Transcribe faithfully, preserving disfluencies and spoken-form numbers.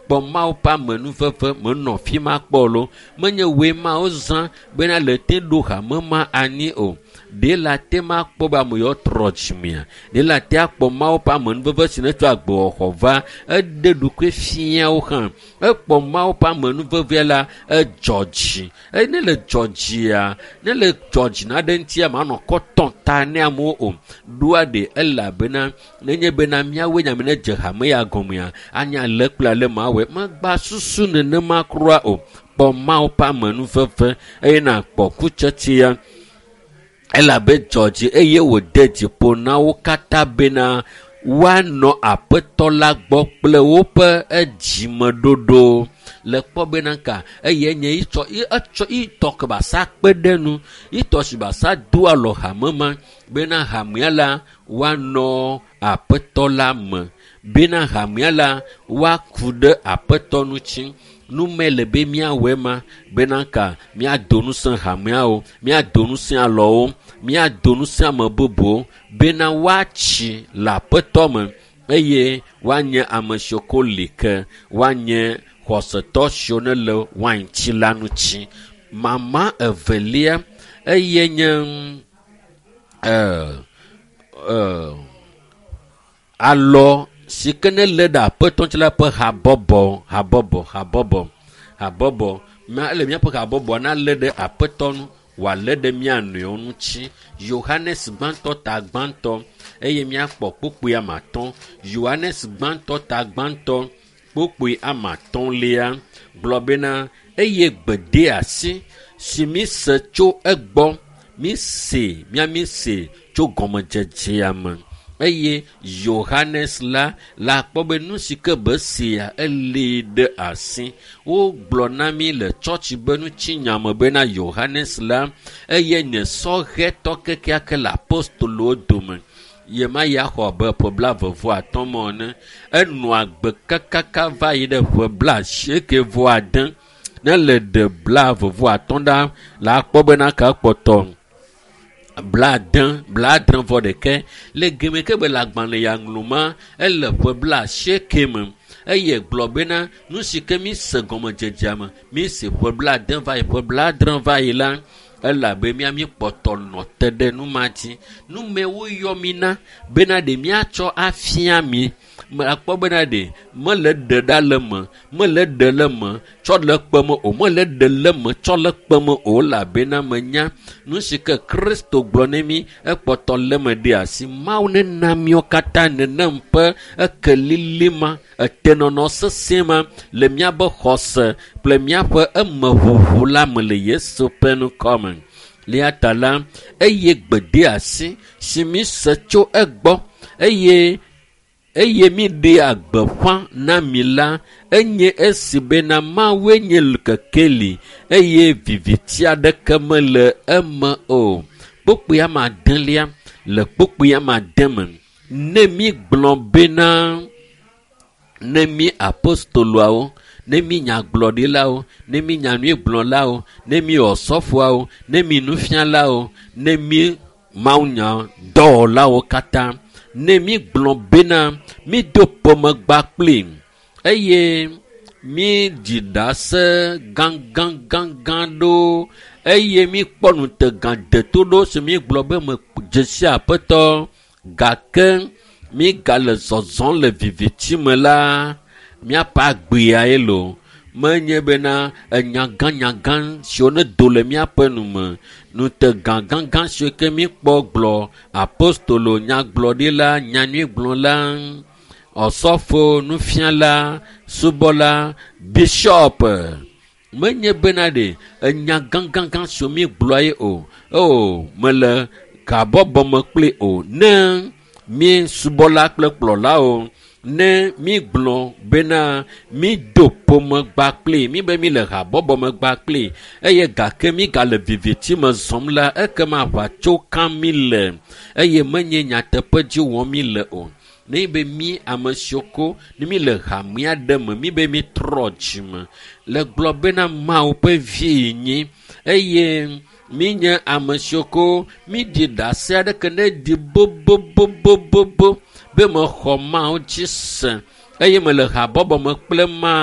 Kpɔ Mawu ƒe amenuveve menɔ fi ma kpɔ lo. Menye woe Mawu zã bena le te ɖo hame ma anyi o. Ɖe la te ma kpɔ be ame yewo trɔ dzimea? Ɖe la te akpɔ Mawu ƒe amenuveve si ne tsɔ agbewɔxɔ va eɖe ɖokui fia wo hã. Ekpɔ Mawu ƒe amenuvevea la edzɔ dzi. Eye ne le dzɔ dzia, ne le dzɔ dzi na ɖe ŋutia manɔ kɔ tɔn ta ne amewo o. Ɖoa ɖe elabena nenye bena míawoe nye ame ne dze hame ya gɔmea, anya ale kple ale mawɔe. Megba susu nenema kura o. Kpɔ Mawu ƒe amenuveve eye nakpɔ kutsetsea elabe dzɔ dzi eye wòde dziƒo na wo katã bena woanɔ aƒetɔ la gbɔ kple woƒe edzimeɖoɖo le kpɔ bena ka eye nye itsɔ etsɔ itɔ ke basa kpe ɖe nu itɔ si basa do alɔ hame ma bena hamea la woanɔ aƒetɔ la me bena hamea la woaku ɖe aƒetɔ ŋuti. Nume le be míawɔe ma bena ka míado ŋusẽ hameawo, míado ŋusẽ alɔwo, míado ŋusẽ ame bubuwo bena woatsi le aƒetɔ me eye woanye ame siwo ko li ke, woanye xɔsetɔ siwo ne le waintsi la ŋuti. Mama evelia eye nye eh, eh, alɔ si ke ne lé ɖe aƒetɔ ŋuti la ƒe habɔbɔ, habɔbɔ, habɔbɔ, habɔbɔ. Ma ele míaƒe habɔbɔa nalé ɖe aƒetɔ ŋu wòalé ɖe mía nɔewo ŋuti. Yohanes gbãtɔ ta gbãtɔ eye míakpɔ kpukpui ame atɔ̃. Yohanes gbãtɔ ta gbãtɔ kpukpui ame atɔ̃lia gblɔ bena eye gbedeasi si míse tso egbɔ, míse, mía míse tso gɔmedzedzea me. Eye Yohanes la la kpɔ be nu si ke be sea elée ɖe asi. Wogblɔ na mí le tsɔtsi be ŋutinya me bena Yohanes la eye nye sɔhɛtɔ kekeake le apostolowo dome. Ye ma ya xɔ abe ƒe blaeve vɔ atɔ̃ me ene. Enɔ agbe kakaka va yi ɖe ƒe blaasieke vɔ ade. Ne le ɖe blaeve vɔ atɔ̃ ɖa la akpɔ bena ka kpɔtɔ blaade, blaadre vɔ ɖeke. Le game ke be le agbalẽ ya ŋlɔ ma, ele ƒe blaasieke me. Eye gblɔ bena nu si ke mi se gɔmedzedzea me, mi se ƒe blaade va yi, ƒe blaadre va yi la, elabe mía mi kpɔtɔ nɔ te ɖe nu ma dzi. Nu me woyɔ mi na bena ɖe míatsɔ afia mi. Akpɔ bena ɖe mele ɖe ɖa le me, mele ɖe le me tsɔ le kpe me o, mele ɖe le me tsɔ le kpe me o, elabena menya nu si ke Kristo gblɔ ne mí ekpɔtɔ le me ɖe asi. Mawu nena míawo katã nenem ƒe ekelili ma, etenɔnɔ sesẽ ma le míaƒe xɔse kple míaƒe emeʋuʋu la me le Yesu ƒe ŋkɔ me. Eya ta la, eye gbedeasi si míse tso egbɔ eye eye míɖea gbeƒã na mi la, enye esi bena Mawue nye kekeli eye viviti aɖeke mele eme o. Kpukpui ame adelia le kpukpui ame ade me. Ne mígblɔ bena ne mí apostoloawo, ne mí nyagblɔɖilawo, ne mí nyanyuigblɔlawo, ne mí osɔfoawo, ne mí nufialawo, ne mí mawunya dɔwɔlawo katã, ne mígblɔ bena mído ƒomegba kpli eye mídzi ɖase gãgãgãgã ɖo eye míkpɔ ŋutega deto ɖo si mígblɔ be medze si aƒetɔ gake mígale zɔzɔm le viviti me la, míaƒe agbea ye loo. Menye bena enyagãnyagã siwo ne do le míaƒe nu me, ŋutega gãgã siwo ke míkpɔ gblɔ apostolo, nyagblɔɖila, nyanyuigblɔla, osɔfo, nufiala, subɔla, bishɔp. Menye bena ɖe enya gãgãgã siwo mígblɔa ye o. O, mele habɔbɔ me kpli o. Ne mí subɔla kple kplɔlawo, ne mígblɔ bena mído ƒomegba kpli, mí be míle habɔbɔ me gba kpli eye gake mígale viviti me zɔm la, ekema aʋatso kam mí le eye menye nyateƒe dzi wɔm mí le o. Ne be mí ame siwo ko ne mí le hamea ɖe me, mí be mítrɔ dzime le gblɔ bena Mawu ƒe vi nyi eye mí nye ame siwo ko míɖi ɖase aɖeke ne ɖi bobobobobobo be mexɔ Mawu dzi se eye mele habɔbɔ me kple Mawu.